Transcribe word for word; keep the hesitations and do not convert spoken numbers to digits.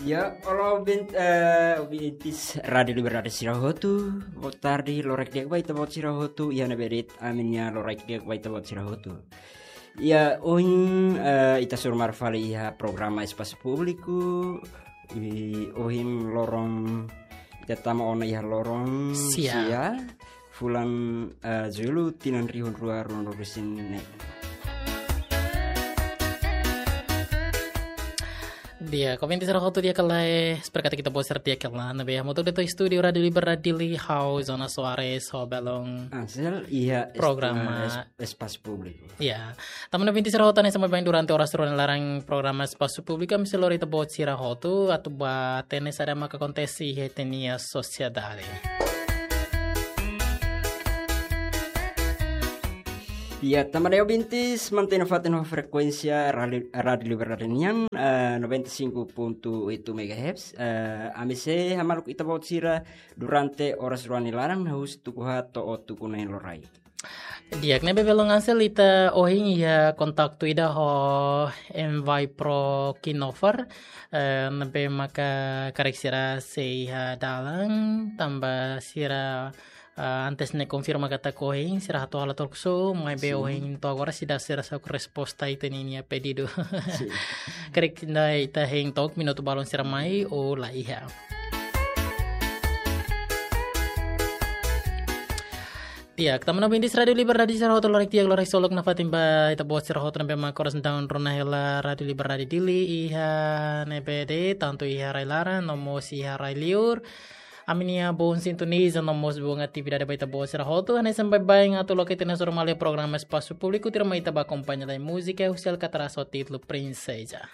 Ya, olá, ouvinte, eh, ouvintes Rádio Liberdade sira hotu. Boa tarde, loraik di'ak ba ita-boot sira hotu. Iha ne'ebé de'it, ami-nia loraik di'ak ba ita-boot sira hotu. Ya, ohin, eh, ita hasoru malu fali iha programa Espasu Públiku. I ohin loron, ita tama ona iha loron Sia. Sia. Fulan, eh, Jullu, tinan rihun rua ruanulu-resin-neen. Di'ak, ouvinte sira hotu di'ak ka lae, espera katak ita-boot sira di'ak ka lae, ne'ebé hamutuk de'it ho estúdiu Rádio Liberdade Dili, ha'u Jonas Soares, ho belun Ansel, iha est-, programa eh, es-, Espasu Públiku. Ya, tanba ne'e ouvinte sira hotu, hanesan baibain durante oras rua nia laran programa Espasu Públiku, ami sei lori ita-boot sira hotu, atu bá hatene saida maka akontese iha ita-nia sosiedade. Ya, tanba ne'e ouvintes, mantein nafatin ho frekuénsia Rádio, Rádio Liberdade nian, eh, noventa e cinco ponto oito megahertz. Eh, ami sei hamaluk ita-boot sira durante oras rua nia laran, husi tuku haat to'o tuku neen loraik. Di'ak, ne'ebé belun Ansel, ita ohin iha kontaktu ida ho Envipro Kinofar, eh, ne'ebé maka karik sira sei iha dalan, tanba sira, eh, antes ne'e konfirma katak ohin sira atu halo talk show, maibé Sin. ohin to'o agora seidauk sira hasai resposta ita-nia pedidu. Sin. Karik ita hein to'ok minutu balun sira mai, ou la iha. Di'ak, tanba ne'e ouvinte Rádio Liberdade sira hotu, loraik di'ak, loraik solok nafatin ba ita-boot sira hotu ne'ebé maka oras ne'e daudaun rona hela Rádio Liberdade Dili iha ne'ebé de'it, tantu iha rai-laran, no mós iha rai-liur. Ami-nia boot sintoniza, no mós boot atividade ba ita-boot sira hotu, hanesan baibain atu loke ita-nia hasoru malu iha programa Espasu Públiku, tuirmai ita bá akompaña lai múzika husi Alcatraz ho títulu Princesa.